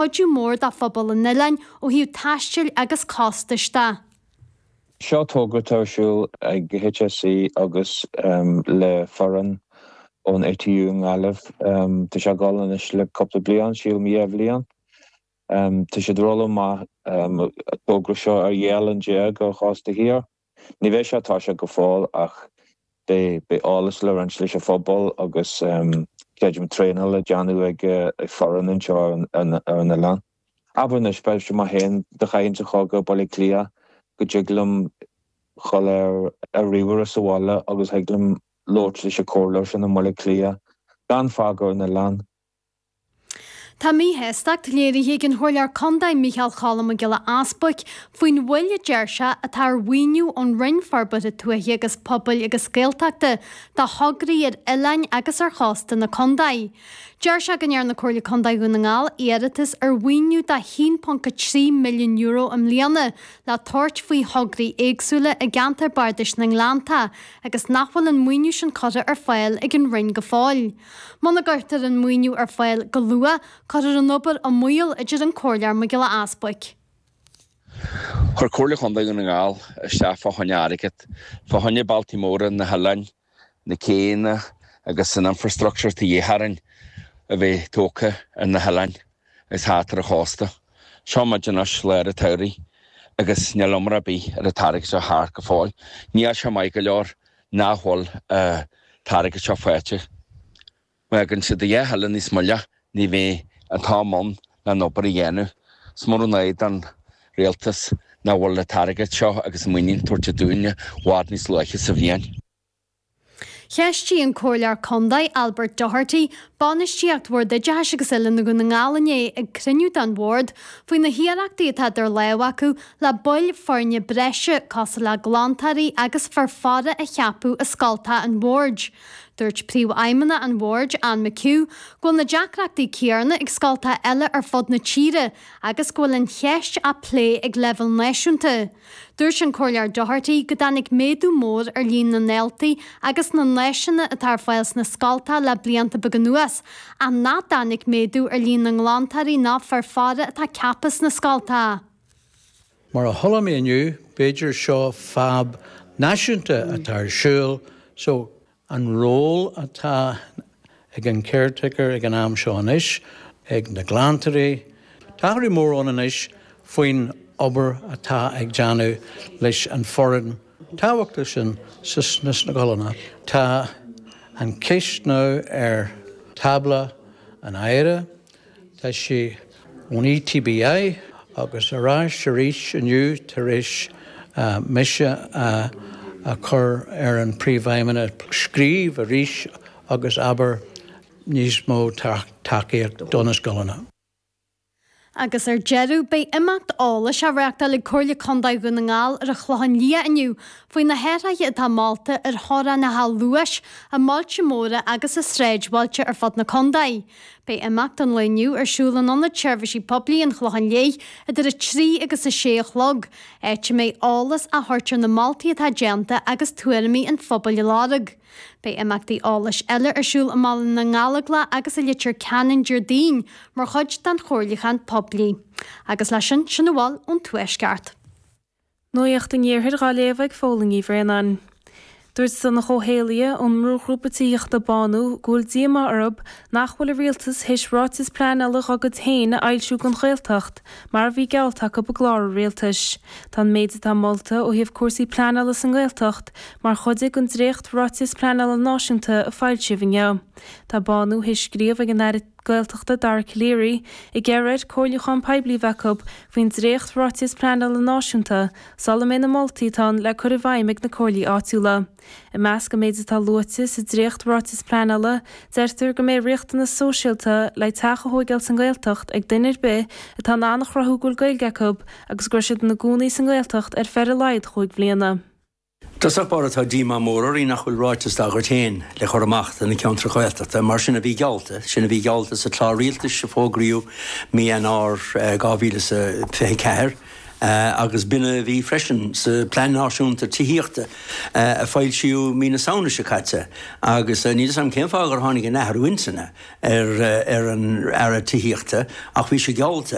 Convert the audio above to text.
Cuidiú mór do phobal an oileáin ó thaobh taistil agus costais de. Seo togra atá ar siúl ag HSE agus le foireann ón ATU i nGaillimh. Tá sé ag dul anois le cúpla bliain, sílim 2 bhliain. Tá siad ag rolladh amach an togra seo ar 12 oileán ar chósta thiar. Ní bheidh sé tosaithe go fóill ach beidh eolas le roinnt leis an phobal agus creidim traenáil le déanamh ag foireann anseo ar an oileán. Abair anois, b'fhéidir mé féin do chaithfinnse a dhul go Baile Átha Cliath go dtig liom dhul ar ríomhaire sa bhaile agus thig liom labhairt leis an comhairleoir sin i mBaile Átha Cliath gan fágáil an oileán. Tá míshástacht léirithe ag an Chomhairleoir Contae Micheál Cholm Mac Giolla Easbuic faoin mhoill a deir sé atá ar mhaoiniú ón Roinn Forbartha Tuaithe agus Pobail agus Gaeltachta do thograí ar oileáin agus ar chósta na contae. Deir sé go ndearna Comhairle Contae Dhún na nGall iarratas ar mhaoiniú de €1.3 milliún i mbliana le tabhairt faoi thograí éagsúla i gceantar bardais na nGleanntach agus nach bhfuil an maoiniú sin curtha ar fáil ag an Roinn go fóill. Muna gcuirtear an maoiniú ar fáil go luath, cuirfear an obair i mbaol, a deir an Comhairleoir Mac Giolla Easbuic. Chuir Comhairle Chontae Dhún na nGall isteach fá choinne airgead, fá choinne bealtaí móra na hoileáin, na céanna agus an infrastructure atá de dhíth orainn a bheith tógtha ar na hoileáin agus thart ar an chósta. Seo muid anois lár an tsamhraidh agus níl iomrá ar bith ar an t-airgead seo thart go fóill. Níl sé maith go leor nach bhfuil an t-airgead seo faighte. Má fhágann siad a dhath eile níos moille ní bheidh an t-am ann le an obair a dhéanamh. Is mór an ádh don Rialtas nach bhfuil an t-airgead seo agus an maoiniú tabhairt dúinn i bhfad níos luaithe sa bhliain. Cheistigh an Comhairleoir Contae, Albert Doherty, bainistíocht Bhord Oideachais agus Oiliúna Dhún na nGall inné ag cruinniú den Bhord faoi na hiarrachtaí atá idir lámha acu le baill foirne breise cosúil le glantóirí agus fir faire a cheapadh i scoltacha an Bhoird. Dúirt Príomhfheidhmeannach an Bhoird, Anne McHugh, go bhfuil na deacrachtaí céanna ag scoltacha eile ar fud na tíre agus go bhfuil an cheist á plé ag leibhéal náisiúnta. Dúirt an Comhairleoir Doherty go dtáinig méadú mór ar líon na ndaltaí agus na n-áiseanna atá ar fáil sna scoltacha le blianta beaga anuas, ach nach dtáinig méadú ar líon na nglantóirí ná fir faire atá ceaptha sna scoltacha. Mar a chuala mé inniu, b'fhéidir seo fadhb náisiúnta atá ar siúl, so An ról atá ag an caretaker ag an am seo anois, ag na glantóirí. Tá athrú mór ann anois faoin obair atá ag déanamh leis an foireann tábhachtach sin sna scoileanna. Tá an ceist now ar tábla an Aire. Tá sí ón ETBI agus ar ais arís inniu tar éis mise a chur ar an Príomhfheidhmeannach scríobh arís agus abair níos mó tacaíocht do na scoileanna. Agus ar deireadh, beidh imeacht eolais á reáchtáil ag Comhairle Contae Dhún na nGall ar an Chlochán Liath inniu faoi na hathruithe atá molta ar theorainneacha luais i mbailte móra agus i sráidbhailte ar fud na contae. Beidh imeacht an lae inniu ar siúl in Ionad Seirbhísí Poiblí an Chlocháin Léith idir 3 agus 6 a chlog, áit a mbeidh eolas á thabhairt ar na moltaí atá déanta agus tuairimí an phobail á lorg. Beidh imeachtaí eolais eile ar siúl i mBaile na nGallóglach agus i Leitir Ceanainn Déardaoin mar chuid den chomhairliúchán poiblí. Agus leis sin, sin a bhfuil ón Tuaisceart. Nuacht an Iarthair dhá léamh ag Fódhla Ní Bhraonáin. Dúirt Donncha Ó hÉallaithe ón mbrúghrúpa tithíochta Bánú go bhfuil díomá orthu nach bhfuil an rialtas théis ráiteas pleanála dá gcuid féin a fhoilsiú don Ghaeltacht mar a bhí geallta acu i gclár an rialtais. Tá an méid atá molta ó thaobh cúrsaí pleanála sa nGaeltacht mar chuid den dréacht-ráiteas pleanála náisiúnta a foilsíodh inniu. Tá Bánú théis scríobh ag an Aire Gaeltachta Dara Calleary ag iarraidh air comhairliúchán poiblí a bheith acu faoin dréacht-Ráiteas Pleanála Náisiúnta sula mbeidh na moltaí atá ann le cur i bhfeidhm ag na comhairlí áitiúla. I measc an méid atá luaite sa dréacht-Ráiteas Pleanála, deirtear go mbeidh riachtanas sóisialta le teach a thóigeáil sa nGaeltacht ag duine ar bith atá in ann a chruthú go bhfuil Gaeilge acu agus go raibh siad ina gcónaí sa nGaeltacht ar feadh ar a laghad chúig bhliana. I dtosach báire tá díomá mór orainn nach bhfuil ráiteas dá gcuid féin le cur amach do na ceantair Ghaeltachta mar sin a bhí geallta, sin a bhí geallta sa chlár rialtais a fógraíodh mí Eanáir 2024. Agus b'in a bhí freisin sa Plean Náisiúnta Tithíochta a foilsíodh mí na Samhna seo caite. Agus níl 'fhios a'm cén fáth gur tháinig an athrú intinne ar an Aire Tithíochta ach bhí sé geallta.